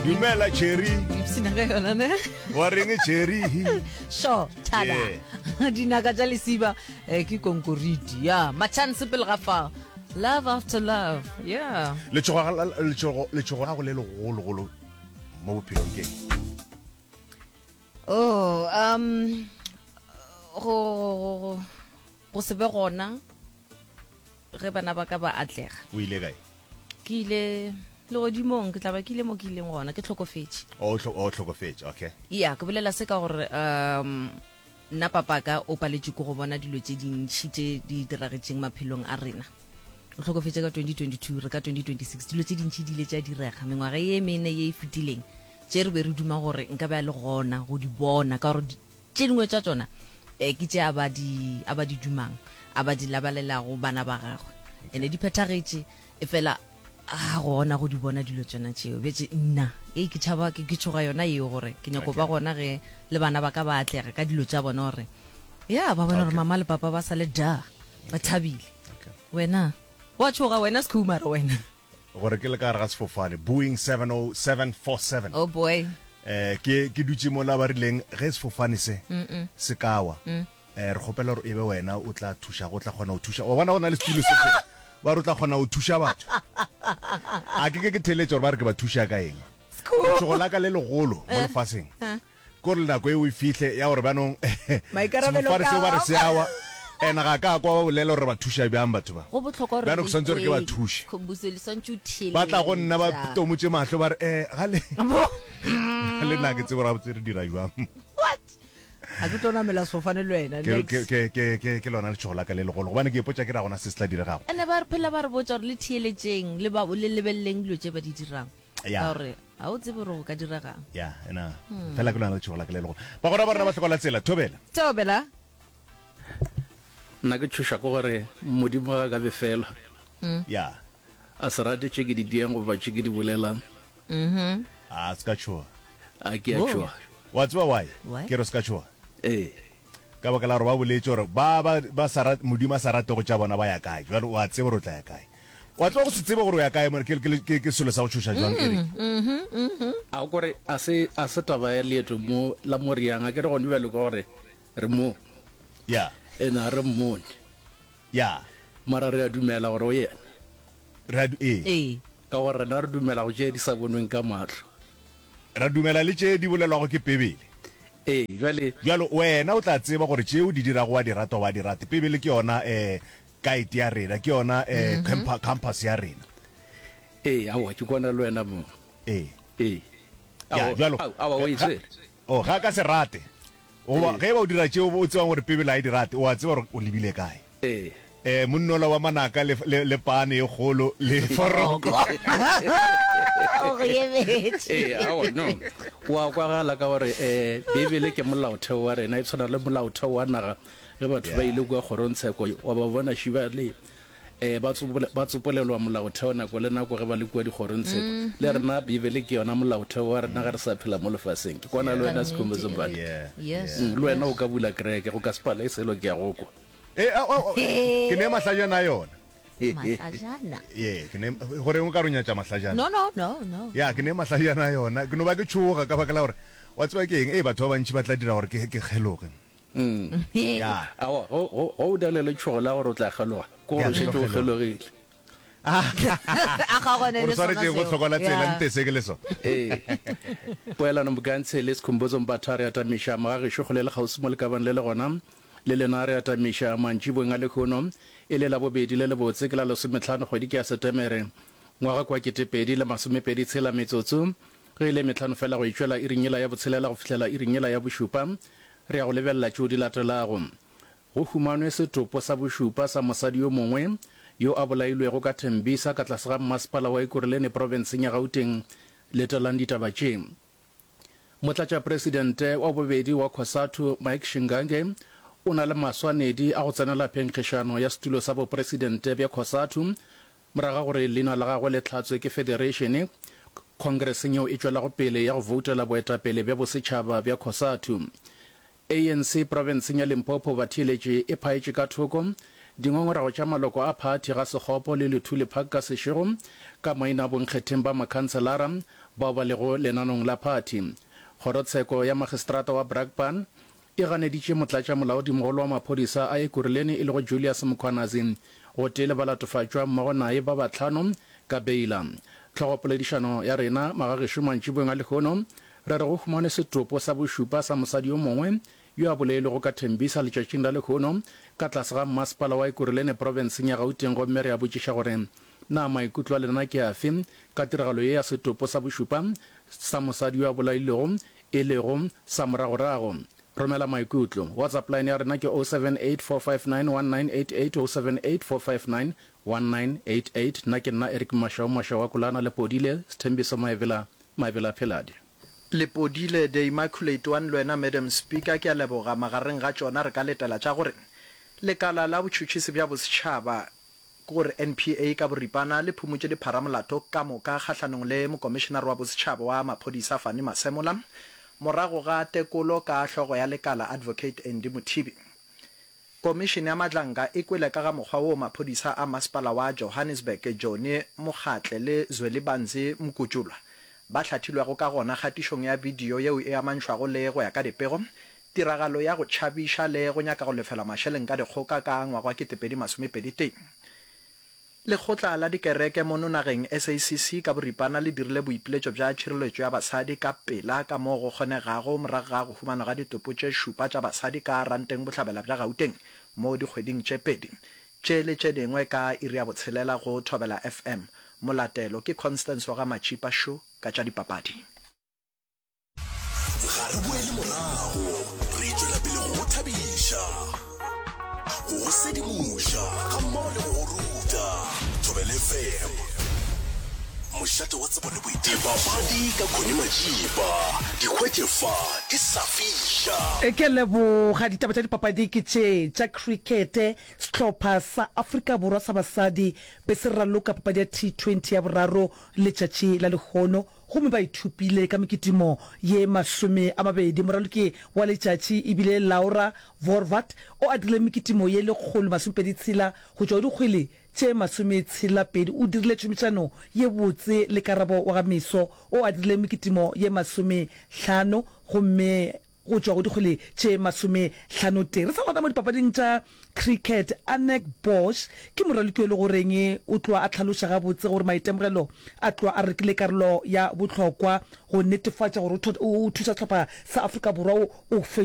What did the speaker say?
Dumela Cherry. Ipshina ka yona ne. Wa reng Cherry? Sure, thada. Yeah. Dinaka tša lesiba eh, ke konkoriti. Ya, machance pele ga fa. Love after love. Yeah. Letšhogo la- letšhogo letšhogo la go le legologolo mo bophelong ke eng? Oh, um go go go go se be gona ge bana ba ka ba atlega. O ile kae? Ke ile legodimong, ke tla ba ke ile mo ke ileng gona, ke hlokofetše. O o hlokofetše, okay. Ya, ke bolela se ka gore um nna papaka o paletšwe ke go bona dilo tše dintši tše di diragetšeng maphelong a rena. O hlokofetše ka 2022, re ka 2026. Dilo tše dintši di ile tša direga mengwaga ye mene ye e fetileng tše re be re duma gore nka be a le gona go di bona ka gore Tše dingwe tša tšona eh, ke tše a ba di, a ba di dumang, a ba di labalelago bana ba gagwe. Ene di phethagetše, efela a gona go di bona dilo tšona tšeo. Bjetše nna, ei ke tšhaba, ke, ke tšhoga yona yeo gore ke nyako ba gona ge le bana ba ka ba atlega ka dilo tša bona gore ya ba bona gore mama le papa ba sa le da, ba thabile. Wena, wa tšhoga wena Sekhumara wena. Gore ke le ka gare ga sefofane, Boeing 70747. Oh boy. Eh, ke, ke dutše mola ba rileng ge sefofane se se ka wa, eh, re kgopela gore e be wena o tla thušago, o tla kgona go thuša. Wa bona go na le setulo se se, ba re o tla kgona go thuša batho. A ke ke ke theeletše gore ba re ke ba thuša ka eng. Letšhogo la ka le legolo mo lefaseng Ke gore nako eo e fihle ya gore bjanong Maikarabelo sefofane ke seo ba re a se a wa, and ga ka kwa ba bolela gore re ba thuša bjang batho ba. Go bohlokwa gore Bjano le ke swanetše gore ke ba ikwe, thuše. Khumbudzo, le swantše o Ba tla go nna ba theeletša. tomotše mahlo ba re, eh, ga le, ga le na ke tsebe gore gabotse re dira bjang. What? Ga ke tlo namela sefofane le wena, Ke, next. ke, ke, ke, ke, ke lona letšhogo la ka le legolo gobane ke ipotša ke re ga gona se se tla diregago. Ene ba re phela ba re botša gore le theeletšeng, le ba, le lebeleleng dilo tše ba di dirang. Ya. Ka gore ga o tsebe gore go ka diregang. Ya, ena. Fela ke lona letšhogo la ka le legolo. Bagwera ba rena ba hloka la tsela, thobela. Thobela. Nna ke tšhošwa ke gore Modimo ga a ka befelwa. Ya. A se rate tše ke di diang goba tše ke di bolelang. A se ka tšhoga. A ke a tšhoga. Wa tseba why Why? ke re se ka tšhoga? Ee. Ka baka la gore ba boletše gore ba ba ba sa rate Modimo a sa ratego tša bona ba ya kae. Jwale o a tseba gore o tla ya kae. Wa tseba go se tsebe gore o ya kae mone ke ke ke ke selo sa go tšhoša jwang Eric. A o kore a se a se taba ya leeto mo la mo re yang a ke re gone bjalo ka gore re mo. Ya. Ene a re mmone. Ya. Mara re a dumela gore o yena. Re a du ee. Ee. Ka gore rena re dumela go tše di sa bonweng ka mahlo. Ra dumela le tše di bolelwago ke Bibele. Ee, bjale. Bjalo wena o tla tseba gore tše o di dirago wa di rata wa di rate. Bibele ke yona eh guide ya rena, ke yona eh campa, compass ya rena. Ee, aowa, ke kwana le wena mo. Ee. Ee. Ya, Aowa, bjalo. ao, aowa, o e Ga, tshwere. oh, ga a ka se rate. Goba Ee. ge e ba o dira tšeo o tsebang gore Bibele ga e di rate, o a tseba gore o lebile kae. Ee. Eh, monnola wa manaka le, le, le pane e kgolo le foroko. O go emetše. Ee, aowa, no. O a kwagala ka gore eh, Bibele ke molaotheo wa rena, e tshwana le molaotheo wa naga. Ge batho ba ile kua kgorongtsheko, wa ba bona šiba le eh, ba tsopole, ba tsopolelwa molaotheo nako le nako ge ba le kua dikgorongtsheko. Le rena Bibele ke yona molaotheo wa rena ge re sa phela mo lefaseng. Ke kwana le Ka wena nnete, Sikhumbuzo Eric. Mbali. Yeah, Yes. Mm, le wena o ka bula kereke, go ka se pale selo, ke a go kwa. E, a, a, a, ke ne mahlajana a yona. Mahlajana. Ye, ke ne, goreng o ka re o nyatša mahlajana? No, no, no, no. Ya, ke ne mahlajana a yona. Ke no ba ke tšhoga ka baka la gore, wa tseba ke eng, ee, batho ba bantši ba tla dira gore ke, ke kgeloge. Ya. Aowa, go, go, go o na le letšhogo la gore o tla kgeloga, ke gore Ya, o ke šetše tlo o kgeloga. kgelogile. A kgaogane O le re sona swanetše go seo. hloka la tsela, Ya. nte se ke le sona. Ee. Poelano Mokantshe le Sikhumbuzo Mbatha re atamiša mogagešo kgole le kgauswi mo le ka bang le le gona. Le lena re atamiša mantšiboeng a lehono, e le Labobedi le lebotse, ke la lesometlhano kgwedi ke ya Setemere, ngwaga kwa 2023 metsotso ge e le metlhano fela go e tšwela iring yela ya botshelela go fihlela iring yela ya bošupa. Re ya go lebelela tšeo di latelago. Go humanwe setopo sa bošupa sa mosadi yo mongwe yo a bolailwego ka Tembisa ka tlase ga mmasepala wa Ekurhuleni profenseng ya Gauteng. Latelang ditaba tše. Motlatšapresidente wa bobedi wa Cosatu Mike Shingange o na le maswanedi a go tsenela phenkgišano ya setulo sa bopresidente bja Cosatu morago ga gore leina la gagwe le hlatswe ke federeišene khongreseng yeo e tšwelago pele ya go voutela boetapele bja bosetšhaba bja Cosatu. ANC profenseng ya Limpopo batheeletši e phaetše ka thoko dingongorego tša maloko a phathi ga Sekgopo le Luthuli Park ka sešego ka maina a bonkgetheng ba makhanselara. bao ba lego lenanong la phathi. Kgorotsheko ya Magistrata wa Brakpan e ganeditše motlatšamolaodimogolo wa maphodisa a Ekurhuleni e lego Julius Mkhwanazi gotee le balatofatšwa mmogo naye ba bahlano ka beila. Hlogopoledišano ya rena magagešo mantšiboeng a lehono re re go humanwe setopo sa bošupa sa mosadi yo mongwe yo a bolailwego ka Tembisa letšatšing la lehono ka tlase ga mmasepala wa Ekurhuleni profenseng ya Gauteng gomme re a botšiša gore na maikutlo a lena ke afe ka tiragalo ye ya setopo sa bošupa sa mosadi yo a bolailwego e lego sa moragorago. Romela maikutlo. WhatsApp line ya rena ke 0784591988, 0784591988. Nna ke nna Eric Mashau Mashau wa Kolana, Lepodile, Sthembiso Maebela, Maebela Pheladi. Lepodile, The Immaculate One le wena Madam Speaker, ke a leboga. Magareng ga tšona re ka letela tša gore Lekala la Botšhotšhisi bja Bosetšhaba, ke gore NPA ka boripana, le phumotše dipharamolato ka moka kgahlanong le Mokomišenare wa Bosetšhaba wa Maphodisa Fannie Masemola morago ga tekolo ka hlogo ya lekala Advocate Andy Mothibi. Komišene ya Madlanga e kwele ka ga mokgwa woo maphodisa a masepala wa Johannesburg Johnny Mokgatle le Zwelibanzi Mgujulwa ba hlathilwego ka gona kgatišong ya bidio yeo e amantšhwago le, go ya ka dipego, tiragalo ya go tšhabiša le go nyaka go lefelwa mašeleng ka dikgoka ka ngwaga wa 2021. Lekgotla la dikereke mono nageng, SACC, ka boripana le dirile boipiletšo bja tšhireletšo ya basadi ka pela ka moo go kgonegago morago ga go humanwa ga ditopo tše šupa tša basadi ka Ranteng Bohlabela bja Gauteng mo dikgweding tše pedi tše le tše dingwe ka iri ya botshelela go Thobela FM. Molatelo ke Constance wa ga Matšipa Shu ka tša dipapadi. Ga re boele morago, re tšwela pele go go thabiša, go go sedimoša gammogo le go go ruta. Thobela FM, mošate wa tsebo le boithabišo. Dipapadi ka Connie Majiba, di hwetše fa di sa fiša. Ke a leboga. Ditaba tša dipapadi ke tše tša khrikete. Sehlopha sa Afrika Borwa sa basadi be se raloka papadi ya T20 ya boraro letšatši la lehono gomme ba ithupile ka mekitimo ye 20. Moraloki wa letšatši e bile Laura Wolvaardt o adile mekitimo ye 126 go tšwa go dikgwele tše 62. O dirile tšhomišano ye botse le Karabo wa ga Meso o adile mekitimo ye 50 gomme go tšwa go dikgwele tše masomehlano-tee. Re sa gona mo dipapading tša cricket, Anek Bosch ke moraloki yo e le goreng o tloga a hlaloša gabotse gore maitemogelo a tloga a rekile karolo ya bohlokwa go netefatša gore o thuša sehlopha sa Afrika Borwa o.